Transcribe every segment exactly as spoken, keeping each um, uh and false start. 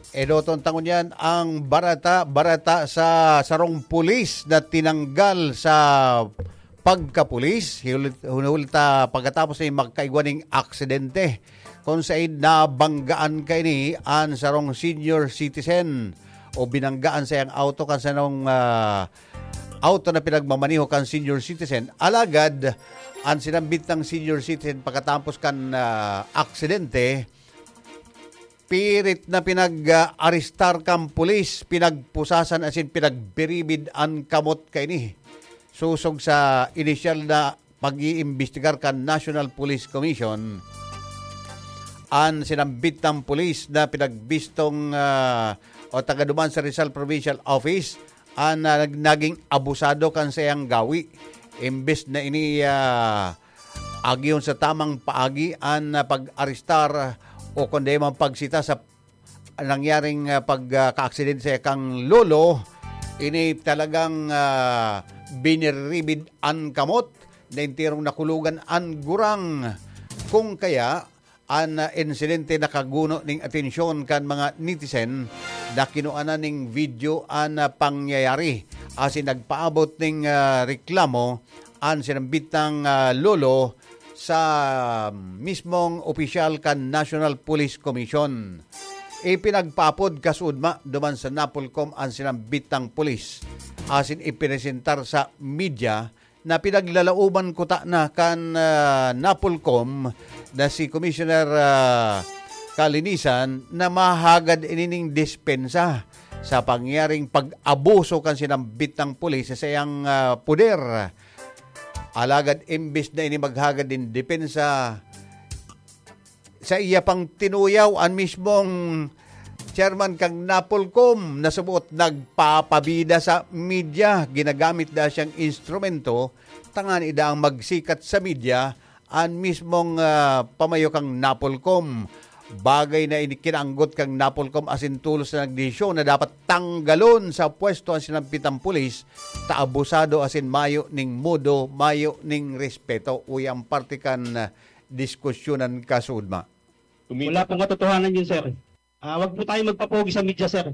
Edoton tangon yan ang barata, barata sa sarong pulis na tinanggal sa pagkapulis. Hinulit, hinulit, ah, pagkatapos ay magkaigwa ning aksidente. Kung said nabanggaan kaini an sarong senior citizen o binanggaan sa iyang auto kan sarong, ah, auto na pinagmamaneho kan senior citizen. Alagad, ang sinambit ng senior citizen pagkatapos kan, ah, aksidente, pirit na pinag-arestar kan pulis, pinagpusasan asin pinagbiribid an kamot kaini. Sosog sa inisyal na pag-iimbestigar kan National Police Commission, an sinambit ng pulis na pinagbistong, ah, o taga duman sa Rizal Provincial Office, an, ah, nag-, naging abusado kan saiyang gawi. Imbes na ini, ah, agihon sa tamang paagi an, ah, pag-arestar o kundi man pagsita sa nangyaring, ah, pag, ah, kaaksidente sa kang lolo, ini talagang, ah, biniribid an kamot na enterong nakulugan an gurang. Kung kaya, an, ah, insidente nakaguno ning atensyon kan mga netizen na kinuanan ning video an, ah, pangyayari asin nagpaabot ning, ah, reklamo an sinambitang, ah, lolo sa mismong opisyal kan National Police Commission. Ipinagpaapod kasuodma duman sa Napolcom an sinambitang pulis asin ipinesentar sa media na pinaglalaoban kuta na kan, ah, Napolcom na si Commissioner, ah, Kalinisan na mahagad ining dispensa sa pangyaring pag-abuso kan sinambitang pulis sa saiyang, ah, poder. Alagad imbis na ini maghagad nin depensa, sa iya pang tinuyaw an mismong chairman kan Napolcom na subot nagpapabida sa media. Ginagamit na siyang instrumento tangani daang magsikat sa media an mismong, ah, pamayo kan Napolcom. Bagay na ini kinaanggot kan Napolcom asin tolos na nagdesisyon na dapat tanggalon sa pwesto an sinampitang pulis ta abusado asin mayo ning modo, mayo ning respeto. Uya ang parte kan, ah, diskusyonan kasuodma. Wala pong katotohanan yun, sir. Ah, wag po tayo magpapogi sa media, sir.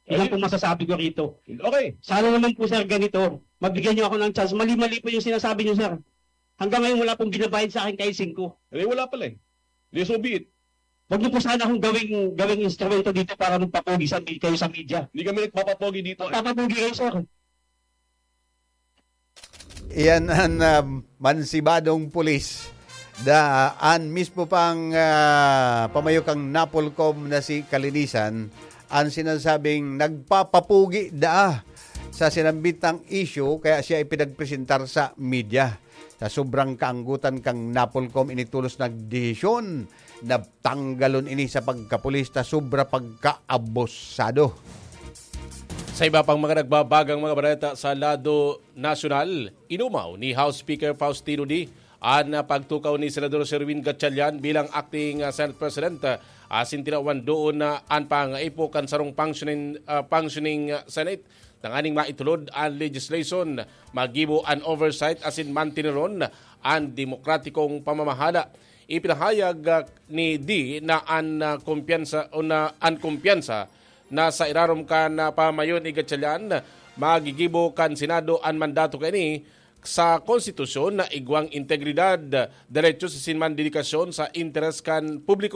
Yun lang pong masasabi ko rito. Okay. Sana naman po, sir, ganito. Mabigyan niyo ako ng chance. Mali-mali po yung sinasabi niyo, sir. Hanggang ngayon, wala pong ginabayad sa akin kahit singko. Eh, wala pala eh. Di so be it. Wag niyo po sana akong gawing, gawing instrumento dito para magpapogi sa, kayo sa media. Hindi kami nagpapapogi dito eh. Magpapapogi kayo, sir. Iyan an, ah, mansibadong pulis. Da, an mismo pang, ah, pamayo kan Napolcom na si Kalinisan, an sinasabing nagpapapugi daa sa sinambitang issue, kaya siya ipinagpresentar sa media. Sa sobrang kaanggutan kan Napolcom, ini tolos nagdesisyon na tanggalon ini sa pagkapulis ta sobra pagkaabusado. Sa iba pang mga nagbabagang mga balita sa lado nasyonal, inumaw ni House Speaker Faustino Dy an pagtukaw ni Senador Sherwin Gatchalian bilang acting, ah, Senate President, ah, asin tinawan doon na an pangaipo kan sarong functioning, ah, functioning, ah, Senate tanganing maitulod an legislation, magibo an oversight asin manteneron an demokratikong pamamahala. Ipinahayag, ah, ni Dy na an, ah, kumpiyansa o na an kumpiyansa na sa irarom kan, ah, pamayo ni Gatchalian, magigibo kan Senado an mandato kaini sa konstitusyon na igwang integridad, derechos asin man dedikasyon sa interes kan publiko.